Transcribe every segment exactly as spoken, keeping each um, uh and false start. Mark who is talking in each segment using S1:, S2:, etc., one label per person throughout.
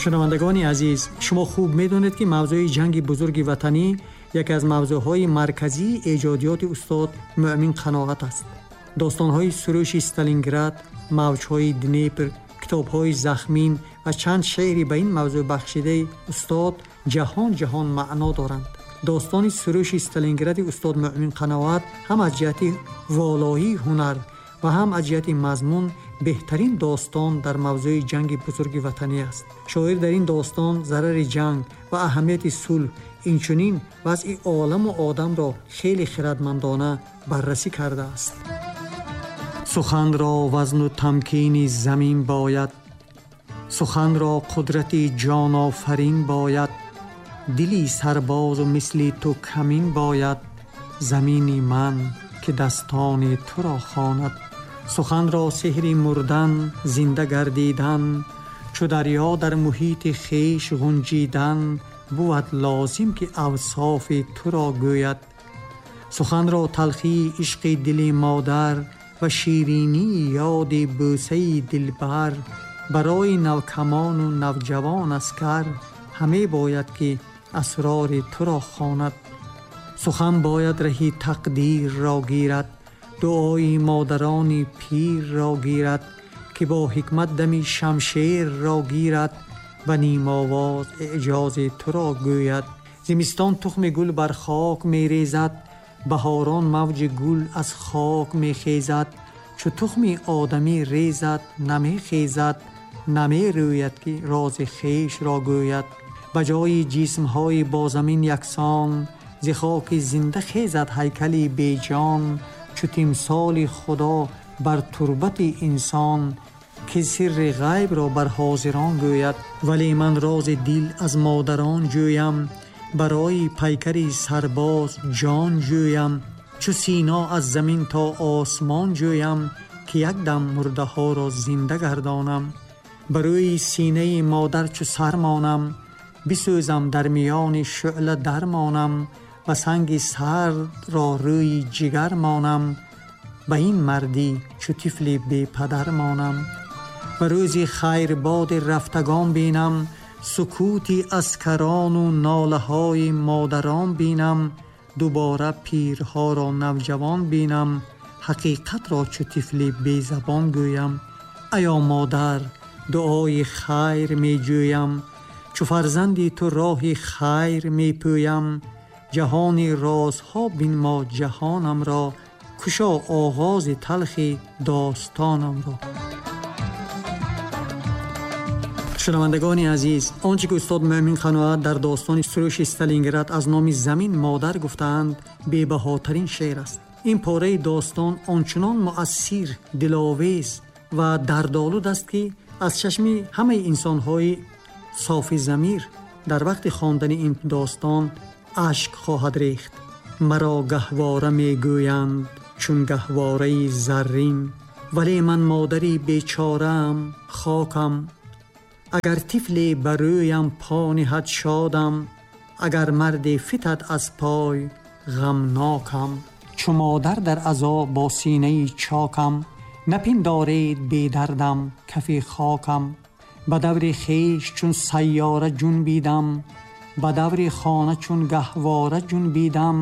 S1: Шунавандагони азиз, шумо хуб медонед, ки мавзӯи ҷанги бузурги ватанӣ яке аз мавзӯъҳои марказии эҷодиёти устод Муъмин Қаноат аст. Достонҳои Сурӯши Сталинград, мавҷҳои Днепр, китобҳои захмин ва чанд шеъри ба ин мавзӯъ бахшидаи устод ҷаҳон ҷаҳон маъно доранд. Достони Сурӯши Сталингради устод Муъмин Қаноат ҳам аз ҷиҳати волоии ҳунар ва ҳам аз ҷиҳати мазмун беҳтарин достон дар мавзӯи ҷанги бузурги ватанӣ аст. Шоир дар ин достон зарари ҷанг ва аҳамияти сулҳ, инчунин вазъи оламу одамро хеле хирадмандона баррасӣ кардааст. Суханро вазну тамкини замин бояд, суханро қудрати ҷонофарин бояд, дили сарбозу мисли ту камин бояд, замини ман ки дастони туро хонад. Суханро сеҳри мурдан, зинда гардидан, чу дарё дар муҳити хеш ғунҷидан, бувад лозим ки авсофи туро гӯяд. Суханро талхии ишқи дили модар ва ширинии ёди бӯсаи дилбар барои навкамону навҷавон аскар ҳаме бояд ки асрори туро хонад. Сухан бояд раҳи тақдирро гирад, дуои модарони пирро гирад, ки бо ҳикмат дами шамшерро гирад ва нимовоз эъҷози туро гӯяд. Зимистон тухми гул бар хок мерезад, баҳорон мавҷи гул аз хок мехезад. Чу тухми одамӣ резад намехезад, намерӯяд ки рози хешро гӯяд. Ба ҷои ҷисмҳои бо замин яксон, зи хоки зинда хезад ҳайкали беҷон. Чу тимсоли худо бар турбати инсон, ки сирри ғайбро бар ҳозирон гӯяд. Вале ман рози дил аз модарон ҷӯям, барои пайкари сарбоз ҷон ҷӯям. Чу сино аз замин то осмон ҷӯям, ки як дам мурдаҳоро зинда гардонам. Ба рӯи синаи модар чу сар монам, бисӯзам дар миёни шӯъла дармонам, ва санги сардро рӯи ҷигар монам. Ба ин мардӣ чу тифли бепадар монам. Ба рӯзи хайрбоди рафтагон бинам, сукути аскарону нолаҳои модарон бинам. Дубора пирҳоро навҷавон бинам, ҳақиқатро чу тифли безабон гӯям. Аё модар, дуои хайр меҷӯям, чу фарзанди ту роҳи хайр мепӯям. Ҷаҳони розҳо бинмо ҷаҳонамро, кушо оғози талхи достонамро. Шунавандагони азиз, он чӣ ки устод Муъмин Қаноат дар достони Сурӯши Сталинград аз номи замин модар гуфтаанд, бебаҳотарин шеър аст. Ин пораи достон ончунон муассир, диловез ва дардолуд аст, ки аз чашми ҳамаи инсонҳои софи замир дар вақти хондани ин достон ашк хоҳад рехт. Маро гаҳвора мегӯянд чун гаҳвораи заррин, вале ман модари бечораам, хокам. Агар тифле ба рӯям по ниҳад шодам, агар марде фитад аз пой ғамнокам. Чу модар дар азо бо синаи чокам, напиндоред бедардам кафи хокам. Ба даври хеш чун сайёра ҷунбидам, ба даври хона чун гаҳвора ҷунбидам.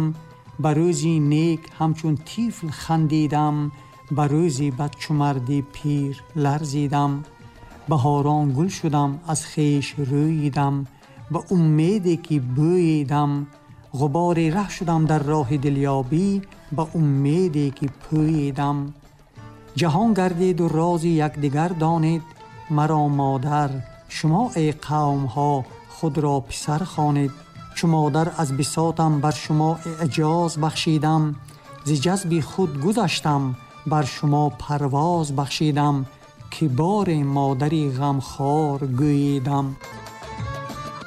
S1: Ба рӯзи нек ҳамчун тифл хандидам, ба рӯзи бад чу марди пир ларзидам. Баҳорон гул шудам, аз хеш рӯйидам, ба умеде ки бӯйидам. Ғубори раҳ шудам дар роҳи дилёбӣ, ба умеде ки пӯйидам. Ҷаҳон гардиду рози якдигар донед, маро модар, шумо эй қавмҳо худро писар хонед. Чу модар аз бисотам бар шумо эъҷоз бахшидам, зи ҷазби худ гузаштам бар шумо парвоз бахшидам, ки бори модари ғамхор гӯйидам.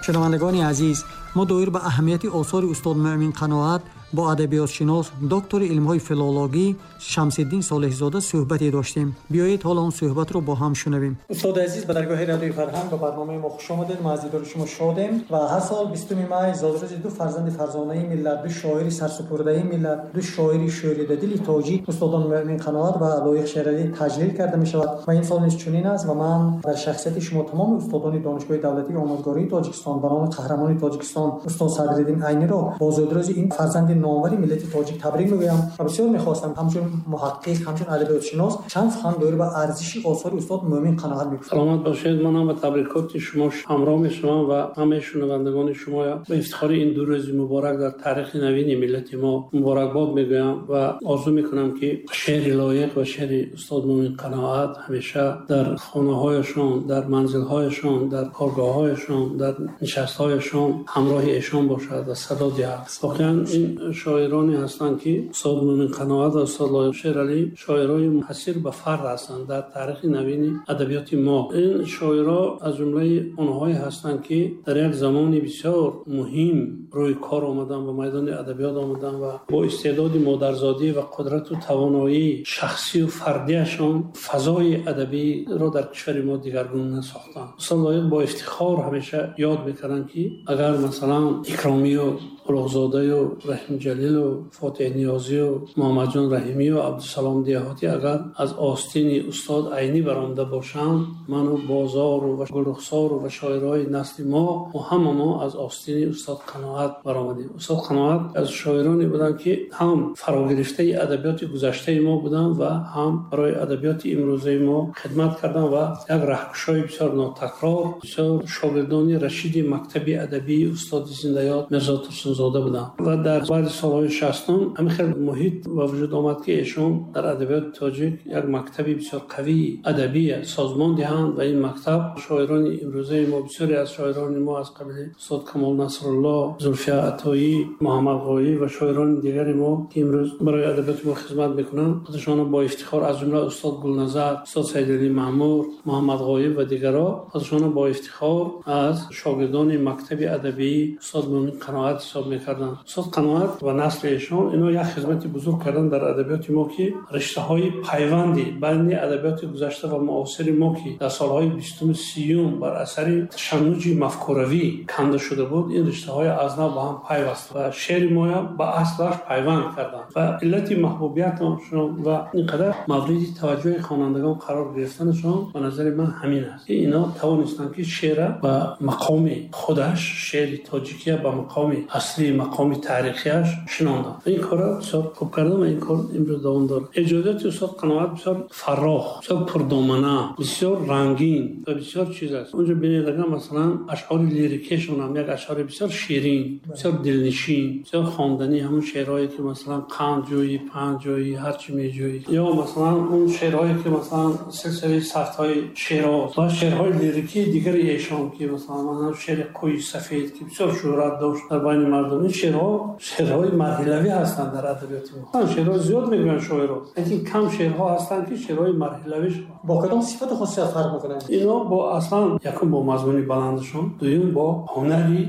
S1: Шунавандагони азиз, мо доир ба аҳамияти осори устод Муъмин Қаноат бо адабиётшинос, доктори илмҳои филологӣ Шамсиддин Солеҳзода суҳбате доштем. Биёед ҳоло он суҳбатро бо ҳам шунавем. Устоди азиз, ба даргоҳи радиои фарҳанг ба барномаи мо хуш омадед. Мо аз дидори шумо шодем ва ҳар сол бистуми май зодрӯзи ду фарзанди фарзонаи миллат, ду шоири сарсупурдаи миллат, ду шоири шӯридадили тоҷик, устодон Муъмин Қаноат ва Лоиқ Шералӣ таҷлил карда мешавад ва ин сол низ чунин аст ва ман дар шахсияти шумо тамоми устодони Донишгоҳи давлатии омӯзгории Тоҷикистон ба номи қаҳрамони Тоҷикистон устод Садриддин Айниро бо зодрӯзи ин фарзанди номвари миллати тоҷик табрик мегӯям ва бисёр мехостам ҳамчун муҳаққиқ, ҳамчун адабиётшинос чанд сухан доир ба арзиши осори устод Муъмин Қаноат мегуфтам.
S2: Саломат бошед. Ман ҳам ба табрикоти шумо ҳамроҳ мешавам ва ҳамаи шунавандагони шумо ба ифтихори ин ду рӯзи муборак дар таърихи навини миллати мо муборакбод мегӯям ва орзу мекунам, ки шеъри Лоиқ ва шеъри устод Муъмин Қаноат ҳамеша дар хонаҳояшон, дар манзилҳояшон, дар коргоҳҳояшон, дар нишастҳояшон ҳамроҳи эшон бошад ва садо диҳад. Воқеан ин шоироне ҳастанд, ки устод Муъмин Қаноат ва устод Лоиқ Шералӣ шоирони мунҳасир ба фард ҳастанд дар таърихи навини адабиёти мо. Ин шоиро аз ҷумлаи онҳое ҳастанд, ки дар як замони бисёр муҳим рӯи кор омаданд, ба майдони адабиёт омаданд ва бо истеъдоди модарзодӣ ва қудрату тавоноии шахсию фардиашон фазои адабиро дар кишвари мо дигаргун сохтанд. Устод Лоиқ бо ифтихор ҳамеша ёд мекарданд, ки агар масалан Икромию Улуғзодаю Раҳимҷалилу Фотеҳ Ниёзию Муҳаммадҷон Раҳимию Абдусалом Деҳотӣ агар аз остини устод Айнӣ баромада бошанд, ману Бозору ва Гулрухсору ва шоирои насли мо, мо ҳама мо аз остини устод Қаноат баромадем. Устод Қаноат аз шоироне буданд, ки ҳам фарогирифтаи адабиёти гузаштаи мо буданд ва ҳам барои адабиёти имрӯзаи мо хидмат карданд ва як раҳкушои бисёр нотакрор, бисёр шогирдони рашиди мактаби адабии устоди зиндаёд Мирзо Турсунзода буданд. Ва дар баъди солҳои шастум ҳамин хел муҳит ба вуҷуд омад, ки эшон дар адабиёти тоҷик як мактаби бисёр қавии адабӣ созмон диҳанд ва ин мактаб шоирони имрӯзаи мо, бисёре аз шоирони мо аз қабили устод Камол Насрулло, Зулфия Атоӣ, Муҳаммад Ғоиб ва шоирони дигари мо, ки имрӯз барои адабиёти мо хизмат мекунанд, худашонро бо ифтихор аз ҷумла устод Гулназар, устод Саидалӣ Маъмур, Муҳаммад Ғоиб ва дигарро худашонро бо ифтихор аз шогирдони мактаби адабии устод Муъмин Қаноат ҳисоб мекарданд. Устод Қаноат ва насли эшон ино як хизмати бузург карданд дар адабиёти мо, ки риштаҳои пайванди байни адабиёти гузашта ва муосири мо, ки дар солҳои бистуму сиюм бар асари ташаннуҷи мафкуравӣ канда шуда буд, ин риштаҳои аз нав ба ҳам пайваст ва шеъри моя ба аслаш пайванд карданд ва иллати маҳбубиятшон ва ин қадар мавриди таваҷҷӯҳи хонандагон қарор гирифтанашон ба назари ман ҳамин аст, ки ино тавонистанд, ки шеъра ба мақоми худаш, шеъри тоҷикия ба мақоми аслӣ, мақоми таърихияш шинонданд. Ин корро бисёр хуб кардам ва ин кор имрӯз давом дорад. Эҷодиёти устод Қаноат бисёр фарох, бисёр пурдомана, бисёр рангин ва бисёр чиз аст. Онҷо бинед, агар масалан ашъори лирикешон ҳам як ашъори бисёр ширин, бисёр дилнишин, бисёр хонданӣ, ҳамон шеърҳое ки масалан қанд ҷӯйӣ, панд ҷӯйӣ, ҳарчи меҷӯйӣ, ё масалан он шеърҳое ки масалан силсилаи сафтҳои шероз ва шеърҳои лирикии дигари эшон, ки масалан шеъри қӯи сафед, ки бисёр шӯҳрат дошт дар байни мардум, ин шеърҳо шеърҳои марҳилавӣ ҳастанд дар адабиёти мо. Шеърҳо зиёд мегӯянд шоиро, лекин кам шеърҳо ҳастанд, ки шеърҳои марҳилавӣ шаванд.
S1: Бо кадом сифату хусусият фарқ мекунанд?
S2: Ино бо аслан якум бо мазмуни баландашон, дуюм бо ҳунари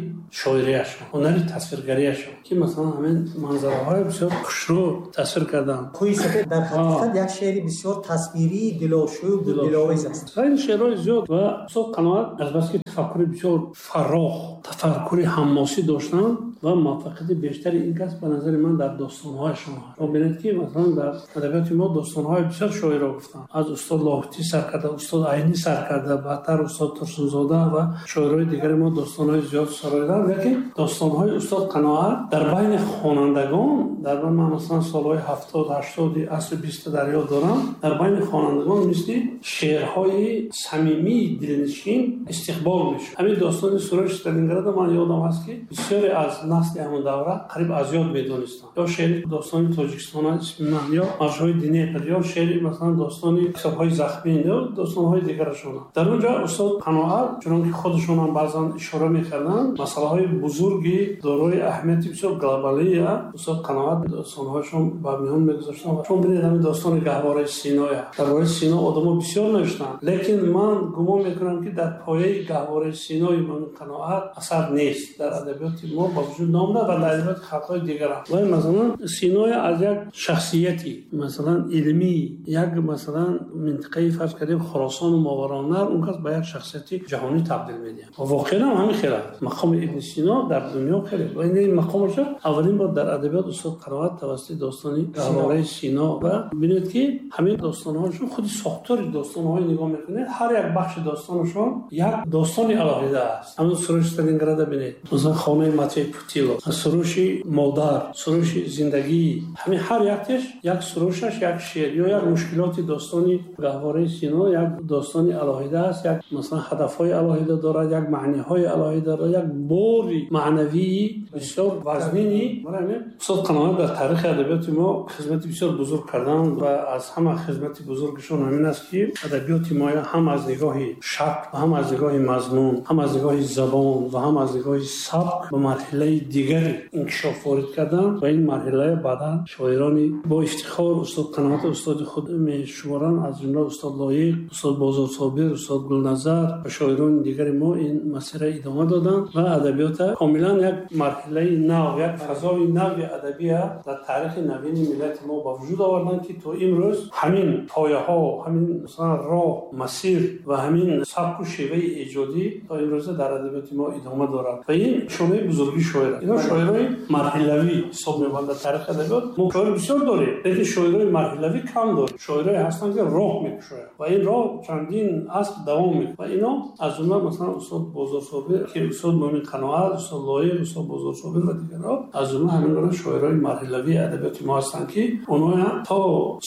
S2: шоирияшон, ҳунари тасвиргариашон, ки масалан ҳамин манзараҳои бисёр хушрӯ тасвир карданд.
S1: Қӯи сафед дар ҳақиқат як шеъри бисёр тасвирии дилошӯб, диловез аст.
S2: Хеле шеърҳои зиёд ва устод Қаноат азбаски тафаккури бисёр фарох, тафаккури ҳамосӣ доштанд ва муваффақияти бештари ин кас ба назари ман дар достонҳояшон аст. Мо бинед, ки масалан дар адабиёти мо достонҳои бисёр шоиро гуфтанд, аз устод Лоҳутӣ сар карда, устод Айнӣ сар карда, баъдтар устод Турсунзода ва шоирои дигари мо достонҳои зиёд сароиданд. Лекин достонҳои устод Қаноат дар байни хонандагон, дар ман масалан солҳои ҳафтод, ҳаштоди асри бист дар ёд дорам, дар байни хонандагон мисли шеърҳои самимии дилнишин истиқбол мешуд. Ҳамин достони Сурӯши Сталинград ман ёдам ҳаст, ки бисёре аз насли ҳамон давра қариб аз ёд медонистанд. Ё шеъри достони Тоҷикистон исми ман, ё маршҳои Днепр, ё шеъри масалан достони китобҳои захмин, ё достонҳои дигарашон. Дар он ҷо устод Қаноат, чунон ки худашон ҳам баъзан ишора мекарданд, масъалаҳои бузурги дорои аҳамияти бисёр глобалия устод Қаноат Қаноат достонҳояшон ба миён мегузоштанд. Шумо бинед ҳамин достони Гаҳвораи Синоя. Дар бораи Сино одамо бисёр навиштанд, лекин ман гумон мекунам, ки дар пояи Гаҳвораи Синои Мӯмин Қаноат асар нест, дар адабиёти мо ба вуҷуд наомада ва дар адабиёти халқҳои дигар ҳам. Ва масалан Синоя аз як шахсияти масалан илмӣ, як масалан минтақаи фарз кардем Хуросон ва Мовароуннаҳр, он кас ба як шахсияти ҷаҳонӣ табдил медиҳад. Ва воқеан ҳам ҳамин хел аст. Мақоми Ибни Сино дар дунё хеле ва ин мақомаш аввалин бор дар адабиёт устод Қаноат тавассути достони Гаҳвораи Сино. Ва бинед, ки ҳамин достонҳояшон, худи сохтори достонҳои нигоҳ мекунед, ҳар як бахши достонашон як достони алоҳида аст. Ҳамин Суруши Сталинграда бинед, масалан хонаи Матвей Путилов, суруши модар, суруши зиндагӣ, ҳамин ҳар яктеш як сурушаш як шеър ё як мушкилоти достони Гаҳвораи Сино як достони алоҳида аст, як масалан ҳадафҳои алоҳида дорад, як маъниҳои алоҳида дорад, як бори маънавии бисёр вазнини. Барои ҳамин устод Қаноат дар таърихи адабиёти мо хизмати бисёр бузург карданд ва аз ҳама хизмати бузургашон ҳамин аст, ки адабиёти мо ҳам аз нигоҳи шакл ва ҳам аз нигоҳи мазмун, ҳам аз нигоҳи забон ва ҳам аз нигоҳи сабк ба марҳилаи дигари инкишоф ворид карданд ва ин марҳилаи баъдан шоирони бо ифтихор устод Қаноат устоди худ мешуморанд, аз ҷумла устод Лоиқ, устод Бозор Собир, устод Гулназар ва шоирони дигари мо ин масира идома доданд ва адабиёта комилан як марҳилаи нав, як фазои нави адабия дар таърихи навини миллати мо ба вуҷуд оварданд, ки то имрӯз ҳамин пояҳо, ҳамин масалан роҳ, масир ва ҳамин сабку шеваи эҷодӣ то имрӯза дар адабиёти мо идома дорад. Ва ин нишонаи бузургии шоир аст. Ино шоирои марҳилавӣ ҳисоб меёбанд дар таърихи адабиёт. Мо шоир бисёр дорем, лекин шоирои марҳилавӣ кам дорем. Шоирое ҳастанд, ки роҳ мекушоянд ва ин роҳ чандин аср давом мекунад. Ва ино аз ҷумла масалан устод Бозор Собир, ки устод Мӯмин Қаноат, устод Лоиқ, устод Бозор Собир ва дигарон аз ҷумла ҳамин гуна шоирои марҳилавии адабиёти мо ҳастанд, ки онҳо то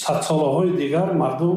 S2: садсолаҳои дигар мардум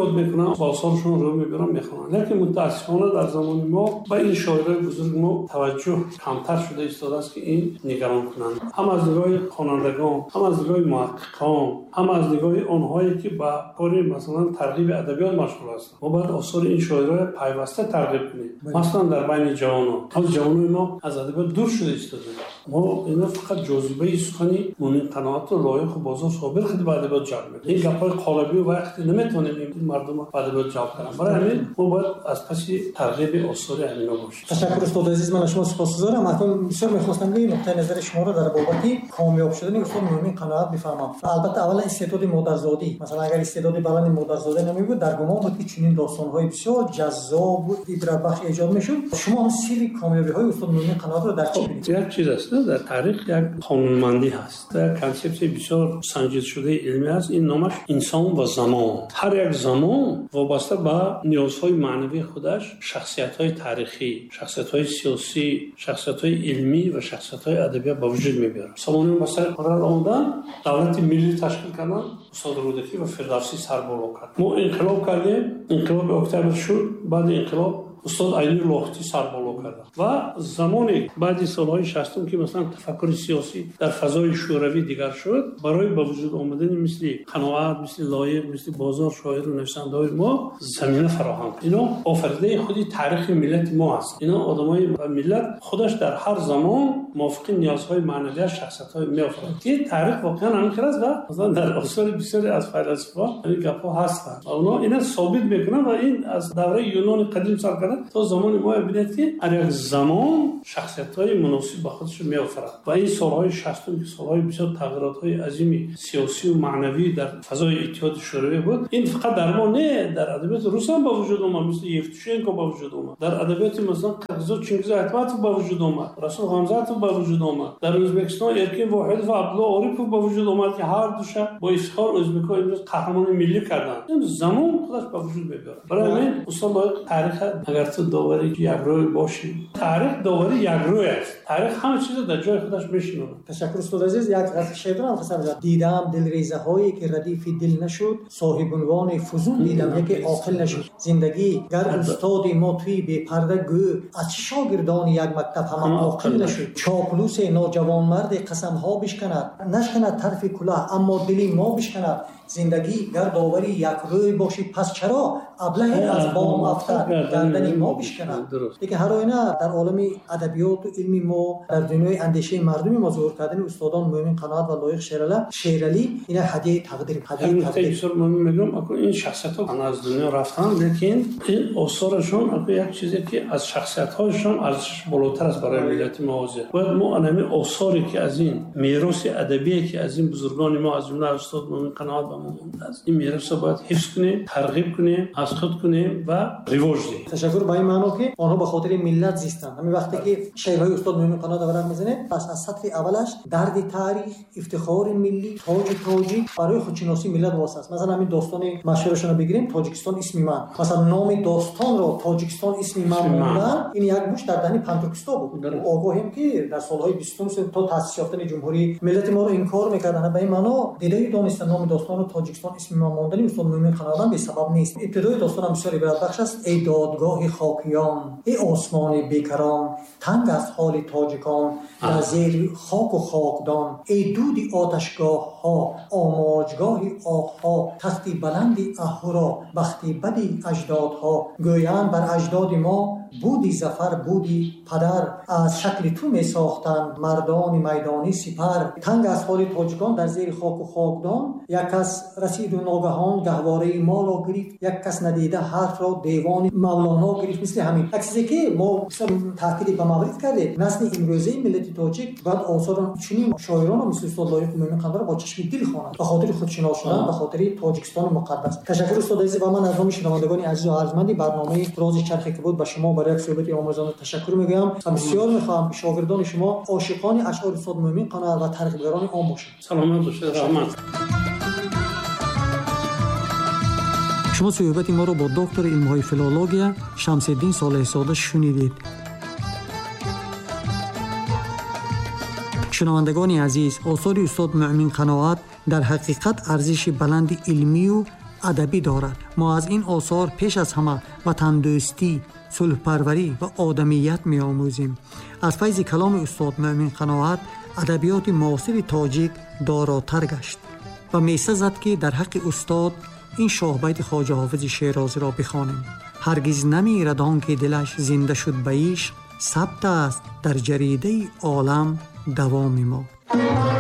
S2: ёд мекунанд, осорашон рӯ мебаранд, мехонанд. Лекин мутаассифона дар замони мо ба ин шоирои бузурги мо таваҷҷӯҳ камтар шуда истодааст, ки ин нигарон кунанд. Ҳам аз нигоҳи хонандагон, ҳам аз нигоҳи муҳаққиқон, ҳам аз нигоҳи онҳое, ки ба кори масалан тарғиби адабиёт машғул ҳастанд. Мо бояд осори ин шоироро пайваста тарғиб кунем, масалан дар байни ҷавонон. Ҳоло ҷавонони мо аз адабиёт дур шуда истодаанд. Мо ино фақат ҷозибаи сухани Мӯмин Қаноат ва Лоиқ ва Бозор Собир худ ба адабиёт ҷалб мекунад. Ин гапҳои қолабӣ ва вақте наметавонем ин мардумро ба адабиёт ҷалб кунем. Барои ҳамин мо бояд аз паси тарғиби осори ҳамино бошем.
S1: Ташаккур устод азиз, ман аз шумо сипосгузорам. Акнун бисёр мехостам ки нуқтаи назари шуморо дар бобати комёб шудани устод Мӯмин Қаноат бифаҳмам. Албатта аввалан истеъдоди модарзодӣ, масалан агар истеъдоди баланди модарзодӣ намебуд, дар гумон буд, ки чунин достонҳои бисёр ҷаззоб ва ибратбахш эҷод мешуд. Шумо ҳам сирри комёбиҳои устод Мӯмин Қаноатро дар чӣ мебинед?
S2: Як чиз аст, дар таърих як қонунмандӣ ҳаст, як консепсияи бисёр санҷидшудаи илмӣ ҳаст. Ин номаш инсон ва замон. Ҳар як замон вобаста ба ниёзҳои маънавии худаш шахсиятҳои таърихӣ, шахсиятҳои сиёсӣ, шахсиятҳои илмӣ ва шахсиятҳои адабиёт ба вуҷуд мебиёрад. Сомониён ба сари қудрат омаданд, давлати миллӣ ташкил карданд, устод Рӯдакӣ ва Фирдавсӣ сарболо кард. Мо инқилоб кардем, инқилоби октябр шуд, баъди инқилоб устод Айнӣ Лоҳутӣ сарболо карданд. Ва замоне баъди солҳои шастум, ки масалан тафаккури сиёсӣ дар фазои шӯравӣ дигар шуд, барои ба вуҷуд омадани мисли Қаноат, мисли Лоиқ, мисли Бозор шоиру нависандаҳои мо замина фароҳам кард. Ино офаридаи худи таърихи миллати мо ҳаст. Ино одамои миллат худаш дар ҳар замон мувофиқи ниёзҳои маънавияш шахсиятҳое меофарад, ки таърих воқеан ҳамин хел аст. Ва масалан дар осори бисёре аз файласуфҳо ҳамин гапҳо ҳастанд ва онҳо ина собит мекунанд. Ва ин аз давраи Юнони қадим сар карда то замони мо бинед, ки ҳар як замон шахсиятҳои муносиб ба худаш меофарад. Ва ин солҳои шастум, ки солҳои бисёр тағйиротҳои азими сиёсию маънавӣ дар фазои Иттиҳоди Шӯравӣ буд, ин фақат дар мо не, дар адабиёти рус ҳам ба вуҷуд омад, мисли Евтушенко ба вуҷуд омад, дар адабиёти масалан қирғизо Чингиз Айтматов ба вуҷуд омад, Расул Ғамзатов ба вуҷуд омад, дар Ӯзбекистон Эркин Воҳидов ва Абдулло Орипов ба вуҷуд омад, ки ҳар душа бо ифтихор ӯзбекҳо имрӯз қаҳрамони миллӣ карданд. Ин замон худаш ба вуҷуд мебиёрад. Барои ҳамин устод Лоиқ таърих агар ту довари якрӯй бошӣ, таърих довари якрӯй аст. Таърих ҳама чизро дар ҷои худаш мешинонад.
S1: Ташаккур устод азиз. Як ғазали шеър дорам, хостам бигӯям. Дидам дилрезаҳое, ки радифи дил нашуд, соҳибунвони фузун дидам, яке оқил нашуд. Зиндагӣ гар устоди мо туи бепарда гӯ, аз чӣ шогирдони як мактаб ҳама оқил нашуд. Чоплусе ноҷавонмарде қасамҳо бишканад, нашканад тарфи кулоҳ, аммо дили мо бишканад. Зиндагӣ гар довари як рӯй бошӣ, пас чаро аблаҳе аз бом афтад гардани мо бишканад. Лекин ҳар оина дар олами адабиёту илми мо, дар дунёи андешаи мардуми мо зуҳур кардани устодон Мӯъмин Қаноат ва Лоиқ Шералӣ, Шералӣ ина ҳадияи тақдир, ҳадияи тақдир.
S2: Бисёр муҳим мегӯям, ин шахсиятҳо аз дунё рафтанд, лекин ин осорашон як чизе ки аз шахсиятҳояшон арзишаш болотар аст барои миллати мо ҳозир. Бояд мо ҳамин осоре ки аз ин мероси адабие ки аз ин бузургони мо, аз ҷумла устод Мӯъмин Қаноат ба мо мондааст, ин меросро бояд ҳифз кунем, тарғиб кунем, аз худ кунем ва ривоҷ диҳем.
S1: Ташаккур. Ба ин маъно ки онҳо ба хотири миллат зистанд. Ҳамин вақте ки шеърҳои устод Мӯъмин Қаноатро варақ мезанед, пас аз сатри аввалаш дарди таърих, ифтихори миллӣ, тоҷи тоҷик барои худшиносии миллат восита аст. Масалан ҳамин достони машҳурашонро бигирем, Тоҷикистон исми ман. Масалан номи достонро Тоҷикистон исми ман мондан, ин як муш дар даҳни пантуркистон буд. Огоҳем ки дар солҳои бистум то таъсис ёфтани ҷумҳурӣ миллати моро инкор мекарданд. Ба ин маъно дидаю дониста номи достонро Тоҷикистон исми ман мондани устод Мӯъмин Қаноат бесабаб нест. Ибтидои достон ҳам бисёр ибратбахш аст. Эй додгоҳи хокиён, эй осмони бекарон, танг аст ҳоли тоҷикон дар зери хоку хокдон. Эй дуди оташгоҳҳо, омоҷгоҳи оҳҳо, тахти баланди аҳуро, бахти бади аҷдодҳо. Гӯянд бар аҷдоди мо буди зафар, буди падар, аз шакли ту месохтанд мардони майдонӣ сипар. Танг аз ҳоли тоҷикон дар зери хоку хокдон, як кас расиду ногаҳон гаҳвораи моро гирифт, як кас надида ҳарфро девони Мавлоно гирифт. Мисли ҳамин як чизе ки мо бисёр таъкиди ба маврид кардем, насли имрӯзаи миллати тоҷик бояд осори чунин шоиронро мисли устод Лоиқ Мӯъмин Қаноатро бо чашми дил хонад, ба хотири худшинос шудан, ба хотири Тоҷикистони муқаддас. Ташаккур устод азиз, ва ман аз номи шунавандагони азизу арҷманди барномаи Рози чархе ки буд ба шумо барои як суҳбати омӯзанда ташаккур мегӯям ва бисёр мехоҳам ки шогирдони шумо ошиқони ашъори устод Мӯъмин Қаноат ва тарғибгарони он бошанд.
S2: Саломат бошед, раҳмат.
S1: Шумо суҳбати моро бо доктори илмҳои филология Шамсиддин Солеҳзода шунидед. Шунавандагони азиз, осори устод Мӯъмин Қаноат дар ҳақиқат арзиши баланди илмию адабӣ дорад. Мо аз ин осор пеш аз ҳама ватандӯстӣ, сулҳпарварӣ ва одамият меомӯзем. Аз файзи каломи устод Мӯъмин Қаноат адабиёти муосири тоҷик доротар гашт ва месазад ки дар ҳаққи устод ин шоҳбайти Хоҷа Ҳофизи Шерозиро бихонем. Ҳаргиз намирад он ки дилаш зинда шуд ба ишқ, сабт аст дар ҷаридаи олам давоми мо.